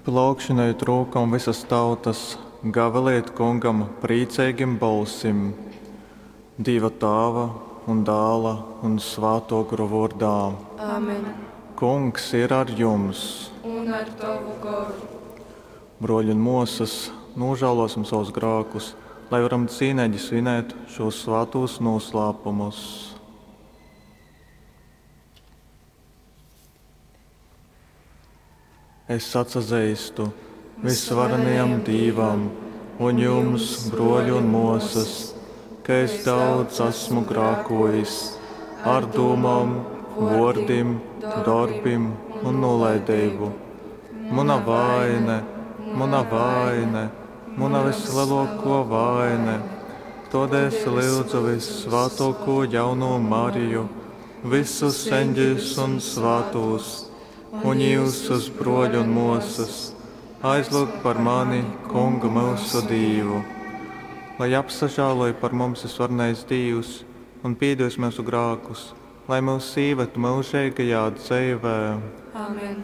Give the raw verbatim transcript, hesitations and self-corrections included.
Plaukšinojit rūkom vysas tautas, gavilejit Kungam prīceigim bolsim. Dīva Tāva un Dāla un Svātō Gora vōrdā. Amen. Kungs ir ar jums! Un ar tovu goru. Brōļi un mōsas, nūžālōsim savus grākus, lai varam cīneigi svinēt šūs svātūs nūslāpumus. Es atsazeistu visvarenajam Dīvam un jums, brōļi un mōsas, ka es daudz esmu grākojis ar dūmom, vōrdim, dorbim un nūlaideibu. Muna vaine, muna vaine, muna vislielākā vaine. Tādēļ es lūdzu vissvātāko jauno Mariju, visus eņģeļus un svātos, un jūsus, brōļi un mōsas, aizlūgt par mani Kungu myusu Dīvu. Lai apsažāloj par mums visvarenais Dīvs un pīdos myusu grākus, lai mūs īved myužeigajā dzeivē. Amen.